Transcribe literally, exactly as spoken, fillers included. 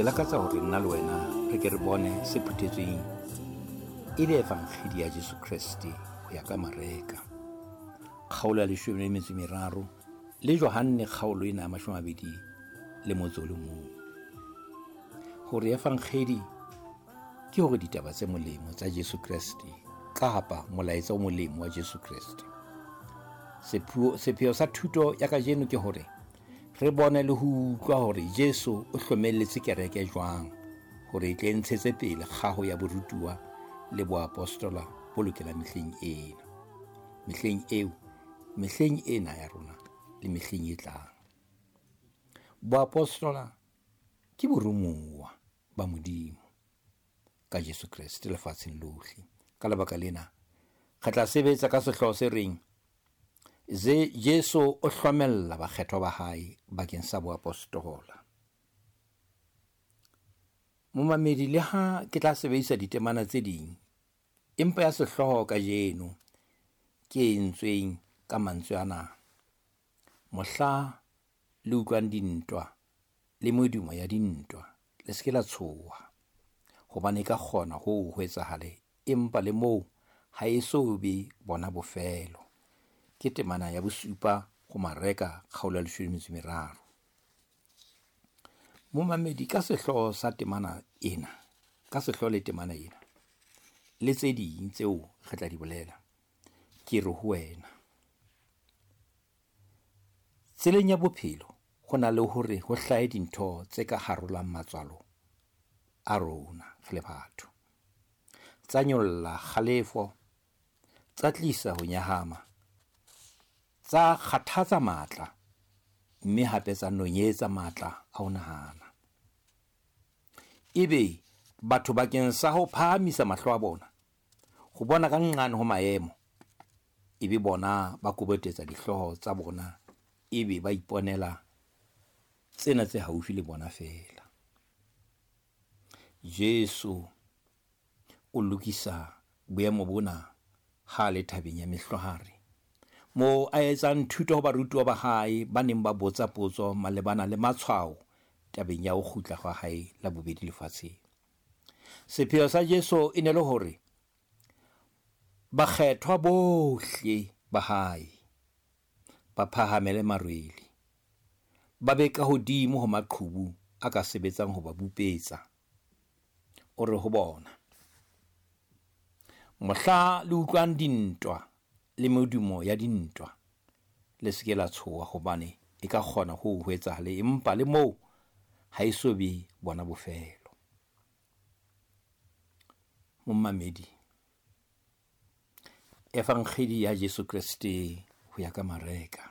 Ke lakatsa hore nna le wena re ke re bone se phuthetsweng e le evangedi ya Jesu Kreste ho ya ka Mareka kgaolo ya leshome le metso e meraro le Johanne kgaolo ena ya mashome a mabedi le motso o le mong. Hore evangedi ke hore ditaba tse molemo tsa Jesu Kreste kapa molaetsa o molemo wa Jesu Kreste. Sepheo sepheo sa thuto ya kajeno ke hore re bone le ho utlwa hore Jesu o hlomelletse kereke jwang hore e tle ntshetse pele kgaho ya borutuwa le boapostola bo lokelang mehleng ena. Mehleng eo, mehleng ena ya rona le mehleng e tlang. Boapostola ke borumuwa ba Modimo ka Jesu Kreste lefatsheng lohle. Ka lebaka lena re tla sebetsa ka sehlooho se reng ze Jesu o hlomella bakgethwa ba hae bakeng sa boapostola. Momamedi, le ha ke tla sebedisa ditemana tse ding, empa ya sehlooho kajeno ke e entsweng ka mantswe ana: mohla le utlwang dintwa le medumo ya dintwa, le se ke la tshoha, hobane e ka kgona ho ho etsahale, empa le moo ha e so be bona bofelo. Ke temana ya bosupa ho Mareka kgaolo ya leshome le metso e meraro. Momamedi, ka sehlooho sa temana ena, ka sehlooho le temana ena le tse ding tseo re tla di bolela, ke re ho wena, tseleng ya bophelo ho na le hore ho hlahe dintho tse ka harolang matswalo a rona re le batho, tsa nyolla kgalefo, tsa tlisa ho nyahama, tsa kgathatsa matla, mme hape tsa nonyetsa matla a ho nahana. Ebe batho bakeng sa ho phahamisa mahlo a bona ho bona ka nqane ho maemo, ebe bona ba kobotetsa dihlooho tsa bona, ebe ba iponela tsena tse haufi le bona feela. Jesu o lokisa boemo bona ha le thabeng ya Mehlware, moo a etsang thuto ho barutuwa ba hae ba neng ba botsa potso malebana le matshwao tabeng ya ho kgutla hwa hae la bobedi lefatsheng. Sepheo sa Jesu e ne le hore bakgethwa bohle ba hae ba phahamele marwele, ba be ka hodimo ho maqhubu a ka sebetsang ho ba bupetsa. O re ho bona, mohla le utlwang dintwa le medumo ya dintwa, le se ke la tshoha, hobane e ka kgona ho ho etsahale, empa le moo ha e so be bona bofelo. Momamedi, evangedi ya Jesu Kreste ho ya ka Mareka.